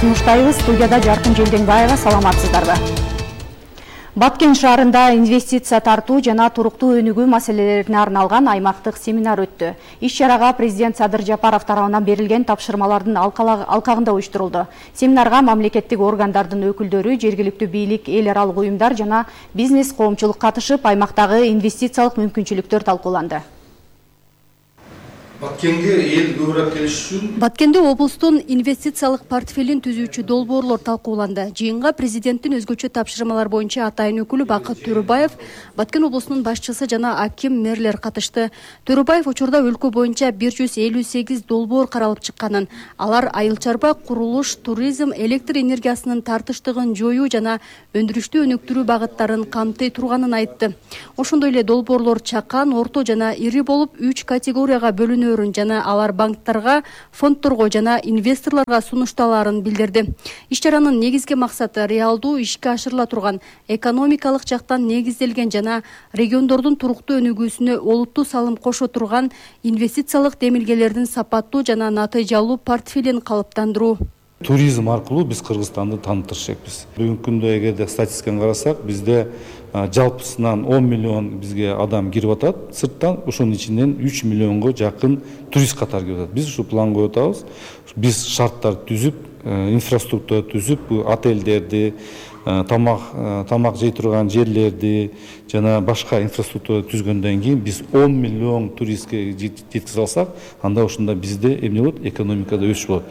сунуштайбыз. Студияда Жаркын Желденбаева, саламатсыздарбы? Баткен шаарында инвестиция тартуу жана туруктуу өнүгүү маселелерине арналган аймактык семинар өттү. Иш-чарага президент Садыр Жапаров тарабынан берилген тапшырмалардын алкагында уюштурулду. Семинарга мамлекеттик органдардын өкүлдөрү, жергиликтүү бийлик, эл аралык уюмдар жана бизнес коомчулук катышып, аймактагы инвестициялык мүмкүнчүлүктөр талкууланды. Баткенге эл көбүрөөк келиш үчүн Баткенде облустун инвестициялык портфелин түзүүчү долбоорлор талкууланды. Жыйынга президенттин өзгөчө тапшырмалар боюнча атайын өкүлү Бакыт Төрөбаев, Баткен облусунун башчысы жана аким мэрлер катышты. Төрөбаев учурда өлкө боюнча 158 долбоор каралып чыкканын, алар айыл чарба, курулуш, туризм, электр энергиясынын тартыштыгын жоюу жана өндүрүштү өнүктүрүү багыттарын камтый турганын айтты. Ошондой эле долбоорлор чакан, орто жана ири болуп 3 категорияга бөлүнөөрүн жана алар банктарга, фондторго жана инвесторлорго сунушталаарын билдирди. Иш-чаранын негизги максаты реалдуу ишке ашырыла турган, экономикалык жактан негизделген жана региондордун туруктуу өнүгүүсүнө олуттуу салым кошо турган инвестициялык демилгелердин сапаттуу жана натыйжалуу портфелин калыптандыруу. туризм аркылуу биз Кыргызстанды тааныштырышпыз. Бүгүнкү күндө эгерде статистиканы карасак, бизде жалпысынан 10 миллион бизге адам кирип атат сырттан, ошонун ичинен 3 миллионго жакын турист катары кирип атат. Биз ушу план коюп атабыз. Биз шарттар түзүп, инфраструктура түзүп, отелдерди, тамак жей турган жерлерди жана башка инфраструктура түзгөндөн кийин биз 10 миллион туристке жеткизе алсак, анда ошондо бизде эмне болот? Экономикада өсүш болот.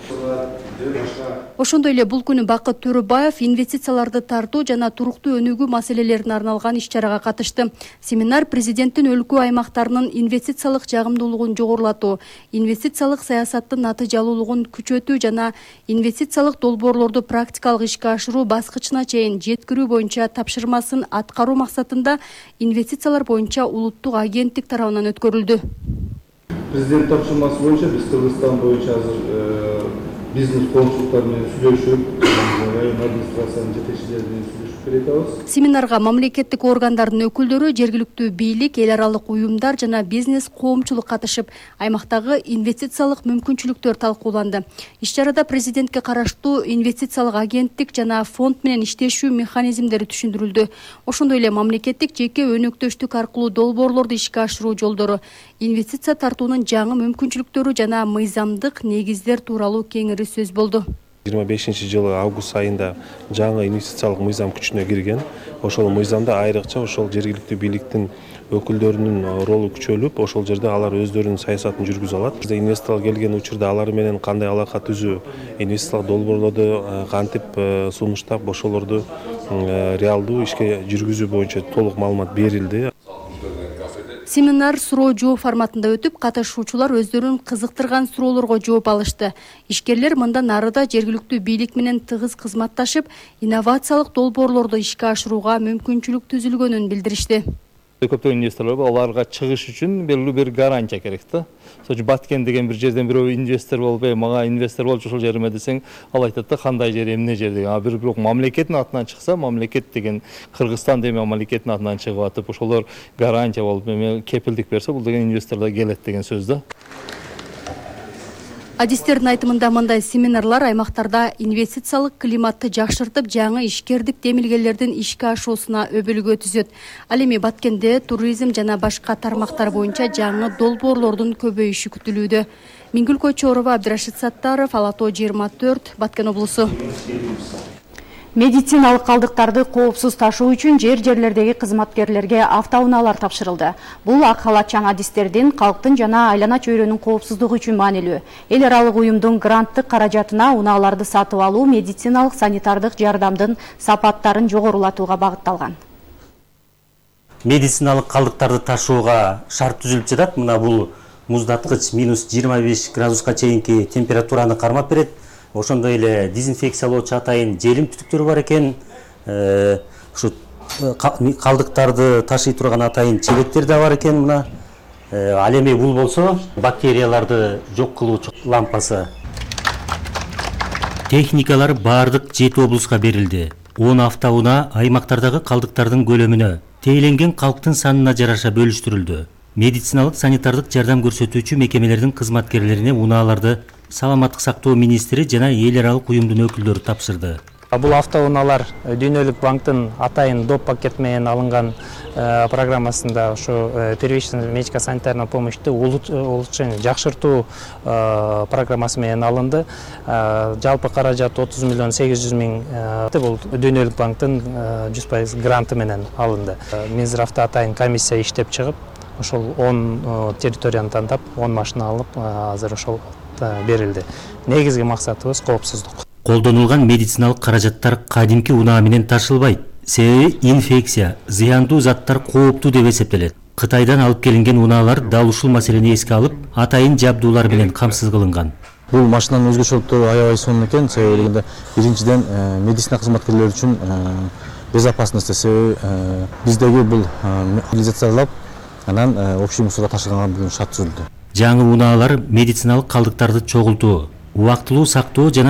Ошондой эле бул күнү Бакыт Төрөбаев инвестицияларды тартуу жана туруктуу өнүгүү маселелерине арналган иш-чарага катышты. Семинар президенттин өлкө аймактарынын инвестициялык жагымдуулугун жогорулатуу, инвестициялык саясаттын натыйжалуулугун күчөтүү жана инвестициялык долбоорлорду практикалык ишке ашыруу баскычына чейин жеткирүү боюнча тапшырмасын аткаруу максатында инвестициялар боюнча улуттук агенттик тарабынан өткөрүлдү. Президент тапшырмасы боюнча биз Кыргызстан боюнча азыр бизнес коомчулуктар менен сүйлөшүп, район администрациянын жетекчилери менен сүйлөшүп келатабыз. Семинарга мамлекеттик органдардын өкүлдөрү, жергиликтүү бийлик, эл аралык уюмдар жана бизнес коомчулук катышып, аймактагы инвестициялык мүмкүнчүлүктөр талкууланды. Иш-чарада президентке караштуу инвестициялык агенттик жана фонд менен иштешүү механизмдери түшүндүрүлдү. Ошондой эле мамлекеттик жеке өнөктөштүк аркылуу долбоорлорду ишке ашыруу жолдору, инвестиция тартуунун жаңы мүмкүнчүлүктөрү жана мыйзамдык негиздер тууралуу кеңири сөз болду. 25-жылы август айында жаңы инвестициялык мыйзам күчүнө кирген. Ошол мыйзамда айрыкча ошол жергиликтүү бийликтин өкүлдөрүнүн ролу күчөлүп, ошол жерде алар өздөрүнүн саясатын жүргүзө алат. Инвесторлор келген учурда алар менен кандай алака түзүү, инвестициялык долбоорлорду кантип сунуштап, ошолорду реалдуу ишке жүргүзүү боюнча толук маалымат берилди. Семинар суроо-жооп форматында өтүп, катышуучулар өздөрүн кызыктырган суроолорго жооп алышты. Ишкерлер мындан арыда жергиликтүү бийлик менен тыгыз кызматташып, инновациялык долбоорлорду ишке ашырууга мүмкүнчүлүк түзүлгөнүн билдиришти. Көптөгөн инвесторлор аларга чыгыш үчүн белгилүү бир гарантия керек да. Ошо Баткен деген бир жерден бирөө инвестор болуп, мага инвестор болчу ошол жериме десең, ал айтат да кандай жер, эмне жер деген. Бирок мамлекеттин атынан чыкса, мамлекет деген Кыргызстан деген мамлекеттин атынан чыгып атып, ошолор гарантия болуп, кепилдик берсе, бул деген инвесторлор келет деген сөз да. Адистердин айтымында мындай семинарлар аймактарда инвестициялык климатты жакшыртып, жаңы ишкердик демилгелердин ишке ашуусуна өбөлгө түзөт. Ал эми Баткенде туризм жана башка тармактар боюнча жаңы долбоорлордун көбөйүшү күтүлүүдө. Мингүл Койчоорова, Абдрашид Саттаров, Алато 24, Баткен облусу. Медициналык калдыктарды коопсуз ташуу үчүн жерлердеги кызматкерлерге автоунаалар тапшырылды. Бул ак халатчан адистердин, калктын жана айлана чөйрөнүн коопсуздугу үчүн маанилүү. Эл аралык уюмдун гранттык каражатына унааларды сатып алуу медициналык санитардык жардамдын сапаттарын жогорулатууга багытталган. Медициналык калдыктарды ташууга шарт түзүлүп жатат. Мына бул муздаткыч -25 градуска чейинки температураны кармап берет. Ошондой эле дезинфекциялоочу атайын желим түтүктөрү бар экен. Ушу калдыктарды ташый турган атайын чебектер да бар экен. Мына ал эми бул болсо бактерияларды жок кылуучу лампасы. Техникалар бардык 7 облуска берилди. 10 автоунаа аймактардагы калдыктардын көлөмүнө, тээленген калктын санына жараша бөлүштүрүлдү. Медициналык санитардык жардам көрсөтүүчү мекемелердин кызматкерлерине унааларды саламаттык сактоо министри жана эл аралык уюмдун өкүлдөрү тапшырды. Бул автоунаалар Дүйнөлүк банктын атайын доп пакет менен алынган программасында ошо первичный медико-санитарный помощьту улучшение жакшыртуу программасы менен алынды. Жалпы каражат 30 миллион 800 миң бул Дүйнөлүк банктын 100% гранты менен алынды. Минздравда атайын комиссия иштеп чыгып, ошол 10 территорияны тандап, 10 машина алып, азыр ошол берилди. Негизги максатыбыз коопсуздук. Колдонулган медициналык каражаттар кадимки унаа менен ташылбайт. Себеби инфекция, зыяндуу заттар кооптуу деп эсептелет. Кытайдан алып келинген унаалар дал ушул маселени эске алып, атайын жабдуулар менен камсыз кылынган. Бул машинанын өзгөчөлүктөрү аябай сонун экен. Себеби дегенде биринчиден медицина кызматкерлери үчүн безопасность, себеби биздеги бул реализациялап, анан общий мусорго ташыганга бүгүн шарт түзүлдү. Жаңы унаалар медициналык калдыктарды чогултуу, убактылуу сактоо жана